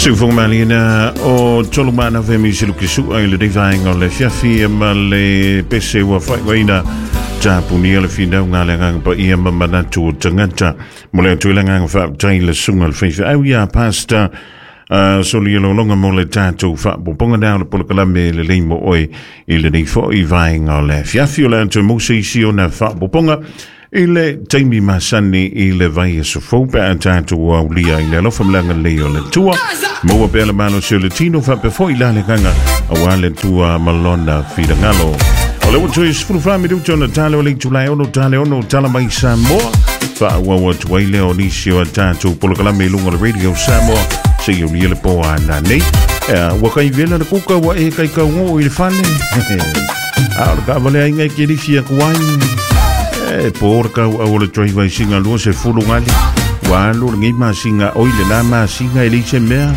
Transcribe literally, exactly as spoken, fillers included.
Siufoga o tolu mana fe mi silu kisua i le vaenga o le fiafi ma le pese ua faivaina tapunia le finau ngā le nganga pa ia ma manatu o tangata. Mo le atu i le nganga whaaptai le sunga le whaiwha au ia pasta Uh, so li lolonga mo le tātou faapopoga na o le polokalame le lei mo oe i lenei foʻi vaega o le afiafi o le atu mo se isi ona faapopoga i le taimi masani i le vai aso fou pe a tatou aulia i le alofa ma le agalelei o le Atua maua pea le malosi o le tino faapea foʻi la le agaga auā le Atua ma lona finagalo. O le ua toe sefulufa minuta ona tale o le itulai ono tale ono tala mai Samoa faaauau atu ai lea o nisi o a tatou polokalame i luga o le Radio Samoa seia ulia le po ana nei. Ua kai vela le kuka ua e kai kau i le fale. A o le ka vale ai ngai ke rifi aku ai. E po ora kau au le driver singa lua se fulu ngali. Ua alu le ngai masinga oi le la masinga e leise mea.